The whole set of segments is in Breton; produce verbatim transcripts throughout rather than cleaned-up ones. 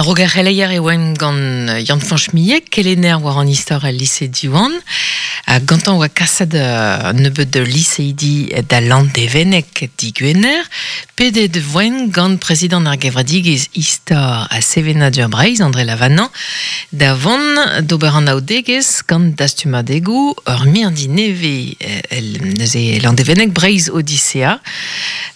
A-raok ar c'heleier e oan gant Yann-Fañch Millet, kelenner war an istor al lise Diwan. Ha gantañ oa kaset uh, nebeud de liseidi da Landévennec digwener. Pedet voen gant prezidant ar gevredigezh istor a sevenadur Breizh, André Lavanant, da vont d'ober an aodegezh gant dastumadegoù ur mirdi neve el, neuze Landévennec Breizh Odyssea.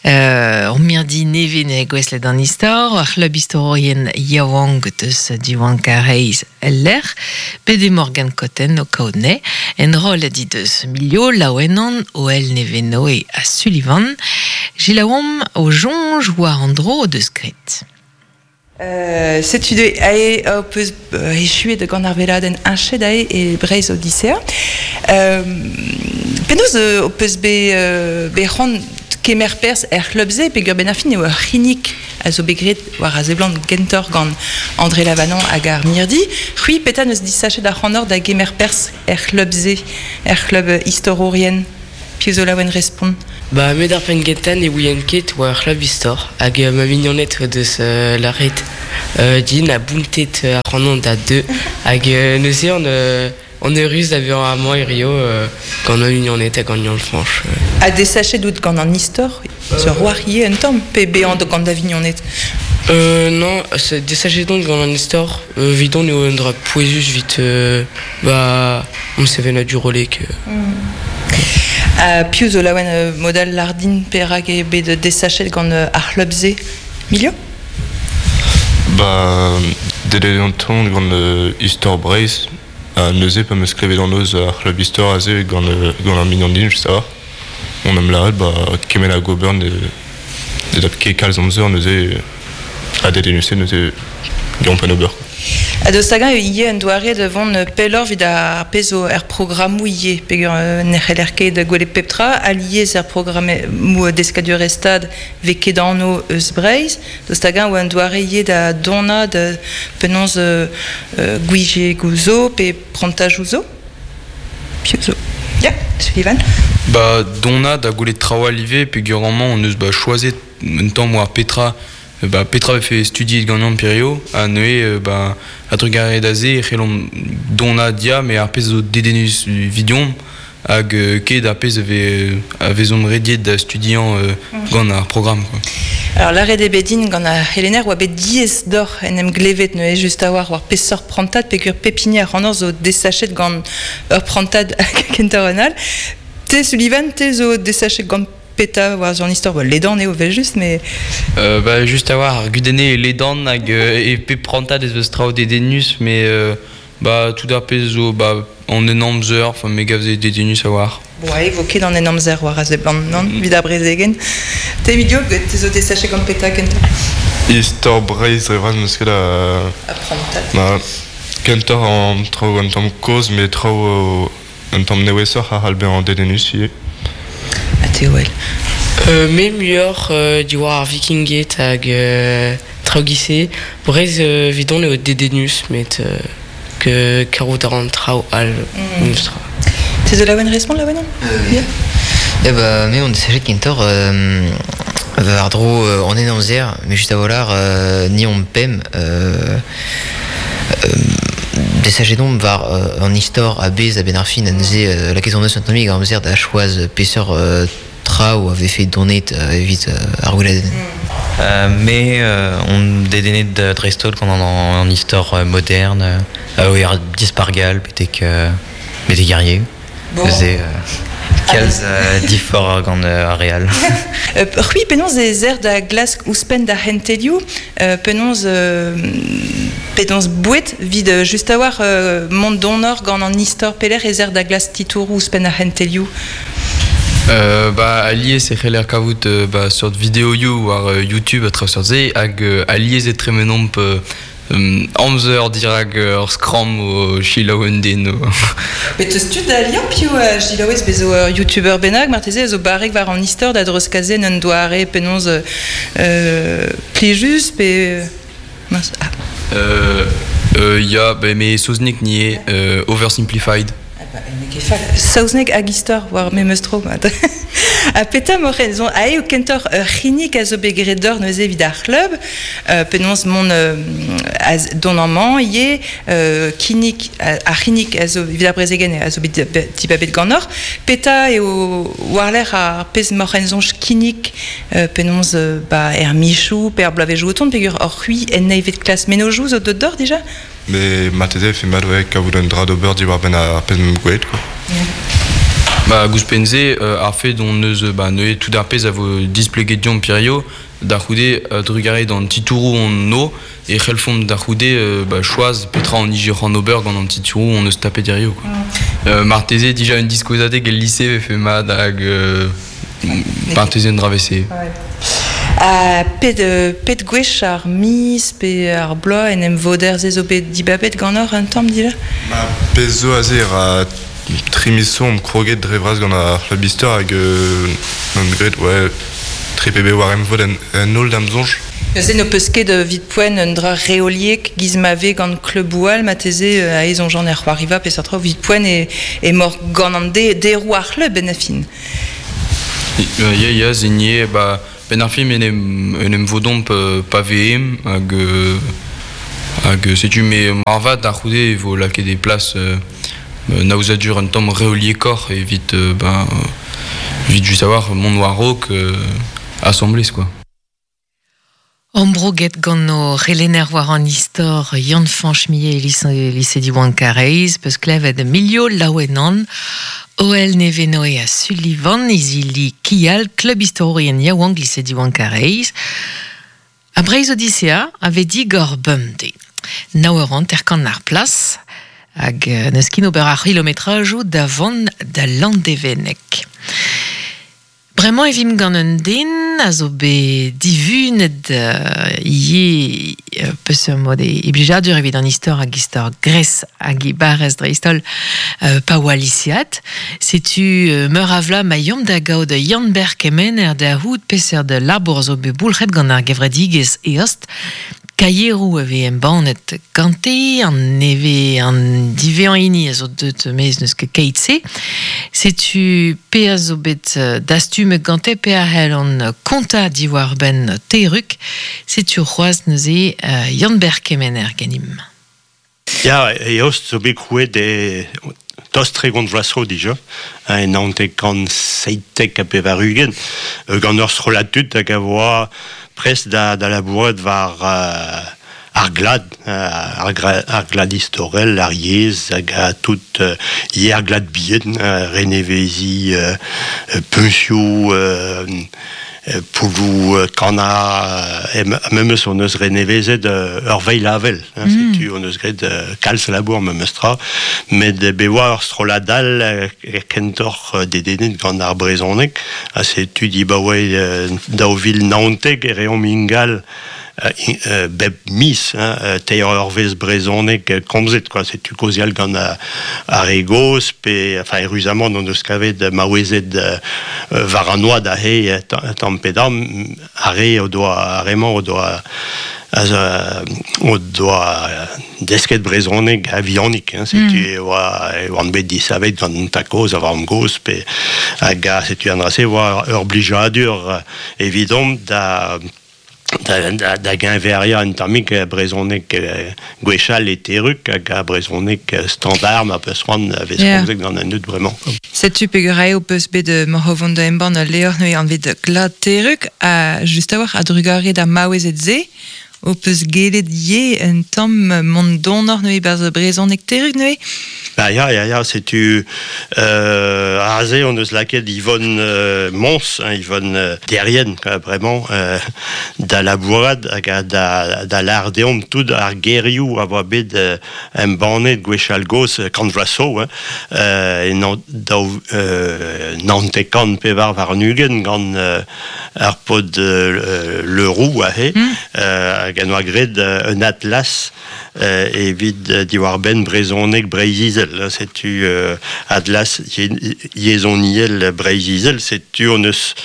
Euh, ur mirdi neve ne gweslet an istor, ar c'hlub istororien yaouank deus Diwan Kareiz el lec'h, pede Morgan Cotten o kaout-ne, en rol a di deus milio laouenan o el neveno e a Sullivan, Gilaom o jonj war an dro deus gret. Euh, setu de ae o peus euh, echuet gant ar veladenn inchet ae e Breizh Odyssea. Euh, penaos euh, o peus be, euh, be c'hoant kemer perzh er c'hlub-se peogwir ben ar fin eo ur c'hinnig a zo bet graet war a seblant gentor gant André Lavanant hag ar mirdi. C'hwi petra neus disachet ar c'hanor da gemer perzh er c'hlub-se, er c'hlub istororien. Piv zo laouen respont. Ba, met ar penn gentan e ouien ket war ar c'hlub istor hag euh, ma mignonet oa deus euh, laret euh, din a bountet euh, ar c'hanon da deux hag euh, neuze on, euh, on eurus da vezañ amañ e Rio euh, gant ma mignonet hag gant Yann-Fañch. Euh. Ha desachet out gant an istor, zo war ie un tamm, pe bezañ gant da vignonet. Euh, non, c'est desachet don gant an istor, euh, vidon eo un dra pouezus vit euh, ba, on sevenadur olek. Euh. Ha piv zo laouen euh, modal lardin perak eo bet desachet gant euh, ar c'hlub-se. Milio? Ba, dedet an ton gant euh, istor Breizh, a neuze pa meus klevet an noz ar c'hlub istor aze gant, euh, gant ar mignon din, just a. On am laret, ba, kemen a gober ne, ne dap ket kalz amzer neuze a dedenus neuze gant pan ober. Ha deus tagañ ivez un doare de vont pellor vid ar pezh zo er programmoù ivez, peogwir euh, ne c'heller ket gwelet pep tra, alies er programmoù deskadur stad vez ket anv eus Breizh, deus tagañ oa un doare ivez da donañ da penaos euh, euh, gwije gouzo pe prantajoù zo. Piv zo. Ya, Sullivan. Ba, dona da gwelet traoù ivez peogwir amañ on eus ba choazet un tamm war petra ba petra vefe studiet ganeomp perio ha neuze euh, ba a trugarez da se e c'hellomp dona dia mais ar pezh zo dedennus vidiomp hag euh, ket ar pezh a vez a vezomp rediet da studiañ euh, gant ar programme quoi. Alors l'arrêt de bedin gant ar c'helenner oa bet diaes d'or en em glevet neuze just a war war peseurt prantad peogwir pep hini ar c'hanor zo desachet gant ur prantad kentañ an all. Te Sullivan, te zo desachet gant peta war an istor, ba, ledan eo vel just, mais... Euh, ba, just a war, ar gudenne e ledan hag euh, e pep prantad ez eus traoù dedennus, mais euh, ba, tout ar pezh zo ba, an en amzer, enfin, me gav ze dedennus a war. Bon, ae, vo ket an en amzer war a seblant, non, mm. Vid ar brezegen. Te Emilio, te zo desachet gant peta kentañ? Istor Breizh dre vras meus ket a... A prantad. Ba, kentoc'h an traoù un tamm kozh, mais traoù un tamm nevesoc'h a c'hall bezañ dedennus ivez. Ha te wel. Euh, me muioc'h euh, diwar ar vikinged hag euh, traoù gise. Breizh euh, vidon eo dedennus, met euh, ke karout ar an traoù all mm. Memestra. Te zo laouen respont laouen? Euh, yeah. Eh ba, me on desachet kentoc'h euh, war dro euh, an en amzer, mais just a volar euh, ni on pem euh, euh, desachet omp war euh, an istor a bez a ben ar fin a neuze euh, lakaet hon eus un tammig amzer da choaz peseurt euh, traoù a vefe donet euh, evit euh, ar gweladenn. Euh, mais euh, on dedennet da dreist-holl gant an, an istor euh, moderne, euh, euh, ar dispargal, betek, euh, betek guerrier. Bon. Neuze, euh, kalz euh, difor gant euh, ar real. Euh, c'hwi penaos ez er da glask ouzhpenn da c'hentelioù, euh, penaos euh, penaos bouet vid euh, just a war euh, mont donor gant an istor peler ez er da glask titouroù ouzhpenn ar c'hentelioù. Euh, ba, alies e c'heller kavout euh, ba, seurt videoioù war euh, YouTube a traoù seurt se hag euh, alies e tremenomp euh, um, amzer dirak euh, ur skramm o selaou un den o. Bet eus tud da liamm piv euh, Gilaouez bezo ur youtuber bennak marteze zo barrek war an istor da dreuzkazen un doare penaos euh, plijus pe... Mince, ah. Euh, euh, ya, ba, me saozneg nie euh, Oversimplified. Ah ba, ne ket fall. Saozneg hag istor war memes tro, mat. A peta moren zon ae o kentor ur c'hinnig a zo bet graet d'or neuze evit ar c'hlub, euh, penaos mont euh, az, don amañ ivez euh, kinnig ar c'hinnig a zo evit ar brezegen a zo bet dibabet ganeoc'h. Peta eo war-lerc'h ar pezh moren zonj kinnig euh, penaos euh, ba er michou pe ar bloavezhioù o tont peogwir hor c'hwi en eizhvet klas mennozhioù zo deut d'or dija? Mais marteze e fe mat ouais, kavout un dra d'ober diwar-benn ar pezh meump gwelet quoi. Yeah. Ba ouzhpenn-se euh, ar fed hon eus ba neuze tout ar pezh a vo displeget deomp hirio da c'houde euh, trugarez d'an titouroù hon o e c'hellfomp da c'houde euh, ba choaz petra an ije c'hoant ober gant an titouroù hon eus tapet hirio quoi. Mm. Euh, marteze dija un diskouezadeg el lise vefe mat hag euh, marteze un dra vese. Ouais. Ha pet, euh, pet gwech ar miz pe ar bloaz en em voder se zo bet dibabet ganeoc'h un tamm dija? Ba pezh zo aze ra tri miz zo omp kroget dre vras gant ar c'hlub istor hag euh, omp graet ouais, tri pe war emvod en, en holl da'm soñj. Neuze n'ho peus ket evit poent un dra reoliek giz ma vez gant kluboù all marteze euh, aes soñjan er c'hoariva peseurt tra evit poent e, emaoc'h gant an de, deroù ar c'hlub en a fin. Ya, ya, ya, se nie, ba, ben ar film en em, en em vodomp euh, pa veem hag, euh, hag setu me marvat da c'houde e vo lakaet e plas euh, naouzadur un tamm reoliekoc'h evit euh, ben, evit just a-walc'h mont war-raok euh, asambles quoi. Ambrouget gant o c'helenner war an istor Yann-Fañch Millet e lise, lise Diwan Karaez, peus klevet Milio Laouenan, Oel Nevenoe ha Sullivan, izili Kial, klub istorourien yaouank lise Diwan Karaez. A Breizh Odisea a vez digor bemdez. Nav eur hanter-kant ar plas, hag n'eus ket ober ar c'hilometrajoù da vont da Landevenneg. Bremañ e vimp gant un den a zo bet divunet euh, ivez euh, peseurt mod e, e blijadur evit an istor hag istor Gres hag e barrez dreist-holl euh, pa oa lisead. Setu euh, meur a vloaz ma yomp da gaout Yann-Ber Kemener da c'hoût peseurt labour zo bet boulc'het gant ar gevredigezh Eost. Kaieroù a vez embannet gante, an neve an divezañ hini a zo deut maez n'eus ket keit-se. Setu pe a zo bet dastumet gante pe a c'hell an kontañ diwar-benn Teruk. Setu c'hoazh neuze euh, Yann-Ber Kemener ganimp. Ya, Eost zo bet krouet e tost tregont vloaz zo dija, hein, naontek kant seitek ha pevar-ugent, gant ur strollad tud hag a oa prest da, da labourat war euh, ar glad, euh, ar, gra, ar glad istorel, ar yezh, hag a tout euh, ivez ar glad bihan, euh, renevezi, euh, puñsioù, euh, poulloù kana, euh, memes hon eus renevezet euh, ur veilh avel, hein, mm. Setu hon eus graet euh, kalz labour memes tra, met bet oa ur strollad all euh, kentoc'h dedennet gant ar brezhoneg, ha setu dibaoe euh, daou vil naontek e reomp ingal euh, bep miz, hein, teir eurvezh brezhoneg komzet, quoi. Setu kaozeal gant ar re gozh, pe, enfin, eüruzamant hon eus kavet maouezed war an oad aze tamm pe damm, ar re o doa, ar re-mañ o doa o doa desket brezhoneg a-vihanik, hein, setu mm. e oa e oan bet disavet gant an tad-kozh ha vamm-gozh, pe hag setu an dra-se oa ur blijadur evidomp da da, da, da geñveriañ un tammig brezhoneg gwechall e Teruk hag a brezhoneg standard ma peus c'hoant a vez komzet gant an dud bremañ. Setu peogwir eo peus bet moc'h o vont da embann ul levr neuze anvet Glad Teruk ha just a-walc'h a-drugarez d'ar maouezed-se ho peus gellet ivez un tamm mont donoc'h neuze barzh brezhoneg Teruk neuze? Ba ya, ya, ya, setu euh, aze hon eus lakaet Yvonne euh, Mons, hein, Yvonne euh, Derrien, quoi, vraiment, euh, da labourat hag a da, da lâr deomp tout ar gerioù a oa bet euh, embannet gwechall gozh kant vloaz zo, hein, euh, e nan, daou, euh, naontek kant pevar warn-ugent gant euh, ar paotr euh, Le Roux aze, mm. euh, hag an oa gred un atlas euh, evit diwar ben brezhoneg Breizh-Izel. Setu euh, atlas yezhoniel Breizh-Izel, setu on eus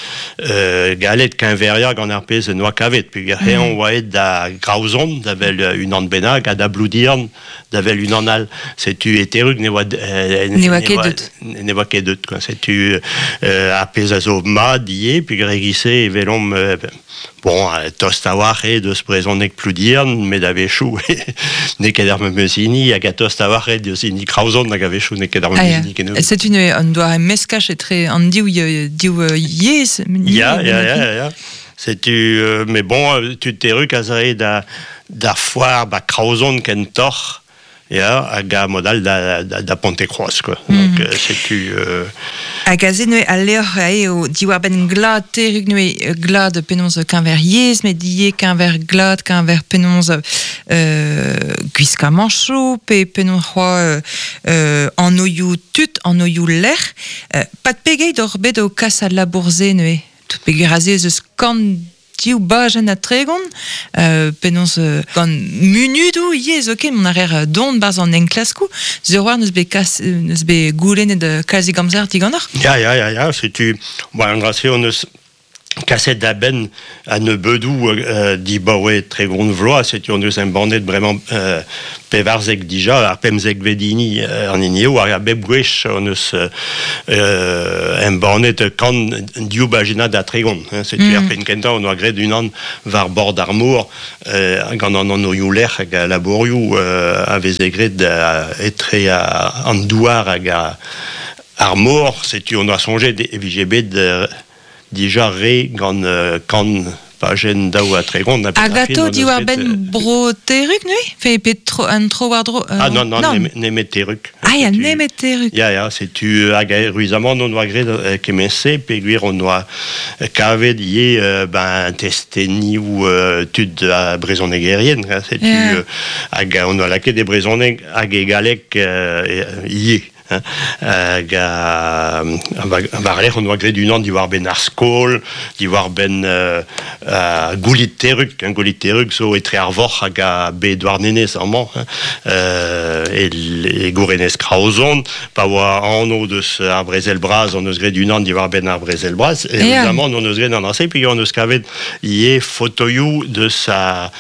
euh, galet keñveria gant ar pezh noa kavet. Peogwir mm. eñ oa aet da Graozon, da vel unan bennak, ha da Bloudiern, da vel unan all. Setu eterug ne oa euh, ne oa ket deut. Ne oa ket deut, quoi. Setu euh, ar pezh a zo mat ivez, peogwir e-giz-se e welomp euh, bon, tost a-walc'h eo deus brezhoneg Ploudiern, met a-wechoù n'eo ket ar memes hini, hag a tost a-walc'h eo deus hini Kraozon, hag a-wechoù n'eo ket ar memes hini kennebeut. Setu un doare meskaj etre an div, div yezh. Ya, ya, ya, ya. Setu, euh, mais bon, tud teruk a zae da, da foar ba Kraozon kentoc'h, ya, hag a mod all da, da, da Pontekroaz, quoi. Mm. Donc, euh, setu... Euh... Hag aze neuze al levr eo diwar-benn glad teruk neuze glad penaos keñver yezh, met ivez keñver glad, keñver penaos euh, gwiskamanchoù, pe penaos c'hoazh euh, anvioù tud, anvioù lec'h. Euh, pat pegeit oc'h bet o kas al labour-se neuze? Tout peogwir aze ez eus kant div bajenn ha tregont, euh, penaos euh, gant munudoù ivez zoken, mont a reer don barzh an enklaskoù, sur war n'eus bet kas, n'eus bet goulennet kalzik amzer diganeoc'h. Ya, ya, ya, ya, setu, bon, an dra-se on eus kaset da benn a nebeudoù euh, dibaoe tregont vloaz, setu on eus embannet bremañ euh, pevarzek dija, ar pemzek vedini euh, an hini eo, hag a bep gwech on eus euh, embannet kant div bajennad ha tregont. Hein, setu mm. ar penn kentañ on oa graet unan war bord ar mor, euh, gant an anvioù lec'h hag a labourioù euh, a veze graet euh, etre a, an douar hag a, ar mor, setu on oa soñjet e vije bet euh, dija re gant euh, kant pajenn daou ha tregont. Hag atao diwar-benn bro teruk neuze? Fe pe tro, an tro war dro... Euh, ah non, non, non. Nemet teruk. Ah ya, nemet teruk. Ya, ya, setu hag ruizamant on oa graet euh, kement-se, peogwir on oa kavet ivez euh, ben, testenioù euh, tud a brezhonegerien. Setu yeah. euh, hag on oa lakaet e brezhoneg hag e galleg euh, ivez. Hag a war-lerc'h on oa graet unan diwar-benn ar skol, diwar-benn euh, goulit teruk, hein, goulit teruk zo etre ar vorc'h hag a be Douarnenez amañ, hein, euh, e, e gourenez Kraozon, pa oa anv deus ar brezel bras, on eus graet unan diwar-benn ar brezel bras, et évidemment on eus graet an ase, puis on eus kavet ivez fotoioù deus a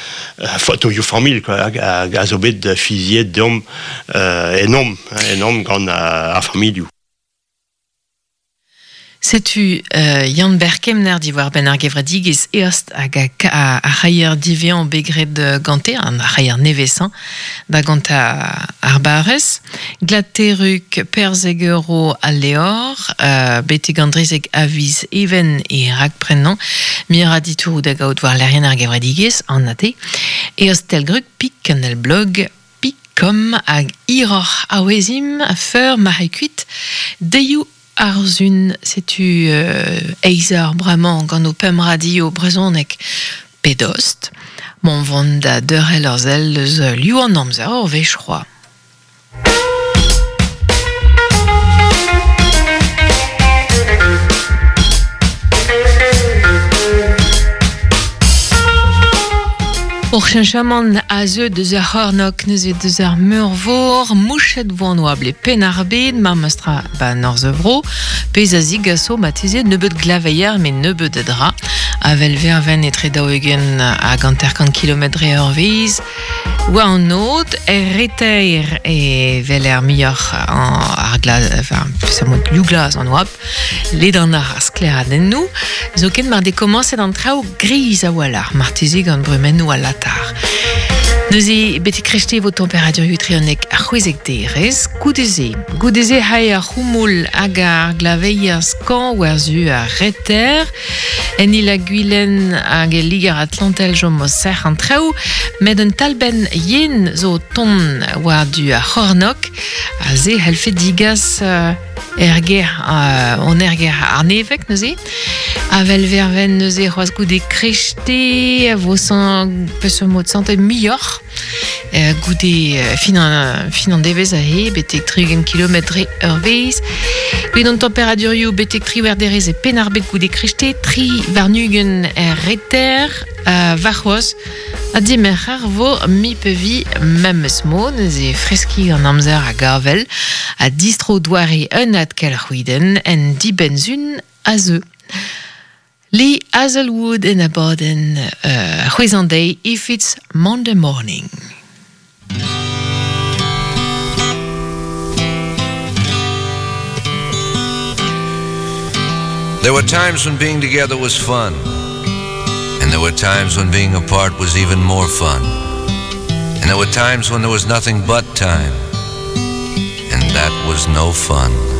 fotoioù familh, quoi, hag a zo bet fiziet deomp euh, enomp, hein, enomp gant ar familhoù. Setu euh, Yann Berkemner diwar ben ar gevredigezh eost hag a, a c'haier divean begred gante, an ar c'haier nevesañ, da gant ar barrez. Glateruk perzeg euro al leor, euh, betek an drezeg aviz even e rakprenañ, mira ditour da gaout war lerien ar gevredigezh, an ate. Eost telgruk pik an el blog kom hag iroc'h a-wezim a feur ma c'hekuit deioù arzun, setu euh, eizar bremañ gant o pemp radio brezhoneg pedost, mont vont da deurel ur sell eus liv an amzer ur wech c'hoazh. Ur cheñchamant a zeu deus ar c'hornok neuze deus ar meurvor, mouchet vo an oabl e penn ar bed, mar meustra ba norzh vro, pezh a zigaso mateze nebeut glaveier met nebeut a dra, avel verven etre daou-ugent hag hanter-kant kilometr dre ur wezh, war an aod, er reter e vel er muioc'h ar glaz, enfin, peseurt liv glas an oabl, ledan ar skleradennoù, zoken mar dekomañset an traoù griz a-walc'h, marteze gant brumennoù a latar. Neuze betek krechte vo temperaturioù etre ar c'hwezek derez, goudeze. Goudeze hae ar c'houmoul hag ar glaveier skañv war-zu ar reter, en il a gwilen hag e liger Atlantel jom o serc'h an traoù, met un talbenn yen zo ton war-du ar c'hornok, a ze helfe digas euh, erger, euh, on erger ar nevek neuze. Avel verven neuze c'hoazh goude krechte, vo san, peseurt mod sante muioc'h. Euh, goude euh, fin an, fin an devezh ahe, betek tri-ugent kilometr dre ur wezh. Goude an temperaturioù betek triwec'h derez e penn ar bed goude krechte, tri warn-ugent er reter, euh, warc'hoazh, A dimerc'her vo mi pevi memes mo, neuze freski an amzer a gavel, a distro doare un ad kelc'hwiden en dibenzun a zeu. Lee Hazelwood en abadenn euh, c'hwezan deiz If It's Monday Morning. There were times when being together was fun, and there were times when being apart was even more fun. And there were times when there was nothing but time, and that was no fun.